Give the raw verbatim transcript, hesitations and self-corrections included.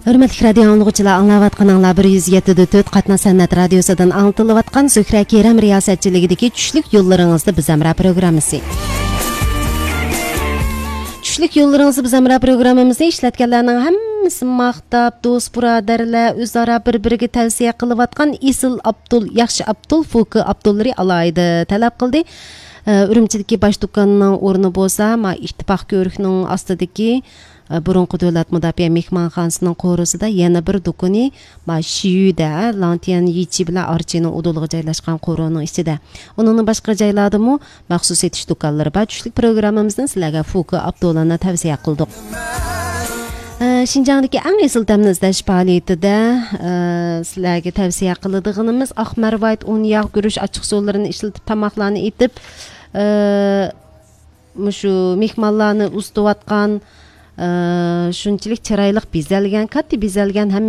ھۆرمەتلىك رادىيو ئاڭلىغۇچىلار، ئاڭلاۋاتقىنىڭلار بىر يۈز يەتتە دۆت قاتناش سەنئەت رادىيوسىدىن ئاڭلىتىلىۋاتقان زۆھرە كېرەم رىياسەتچىلىكىدىكى چۈشلۈك يوللىرىڭىزدا بىز ھەمراھ پروگراممىسى. چۈشلۈك يوللىرىڭىزدا بىز ھەمراھ پروگراممىمىزنى ئىشلەتكەنلەرنىڭ ھەممىسى ماختاپ، دوست بۇرادەرلەر ئۆزئارا بىر بىرىگە تەۋسىيە قىلىۋاتقان ئېسىل ئابدۇل، ياخشى ئابدۇل، فوكى ئابدۇللىرى ئالاھىدە تەلەپ قىلدى. ئە، ئۈرۈمچىدىكى باش دۇكاننىڭ ئورنى بولسا، ما ئىتتىپاق كۆۋرۈكنىڭ ئاستىدىكى، ئە، بۇرۇنقى دۆلەت مۇداپىئە مېھمانخانىسىنىڭ قورۇسىدا يەنە بىر دۇكىنى، ما شىيۈدە، لانتيەن يىچى بىلەن ئارچىنىڭ ئۇدۇلىغا جايلاشقان قورۇنىڭ ئىچىدە. ئۇنىڭدىن باشقا جايلاردىمۇ مەخسۇس سېتىش دۇكانلىرى بار. چۈشلۈك پروگراممىمىزدىن سىلەرگە فوكى ئابدۇللىنى تەۋسىيە قىلدۇق. ئە، شىنجاڭدىكى ئەڭ ئېسىل تەمنى ئىزدەش پائالىيىتىدە، ئە، سىلەرگە تەۋسىيە قىلىدىغىنىمىز ئاق مەرۋايىت، ئۇن، ياغ، گۈرۈچ ئاچچىقسۇلىرىنى ئىشلىتىپ تاماقلارنى ئېتىپ، ئە، مۇشۇ مېھمانلارنى ئۇزىتىۋاتقان، ئە، شۇنچىلىك چىرايلىق بېزەلگەن، كاتتا بېزەلگەن ھەم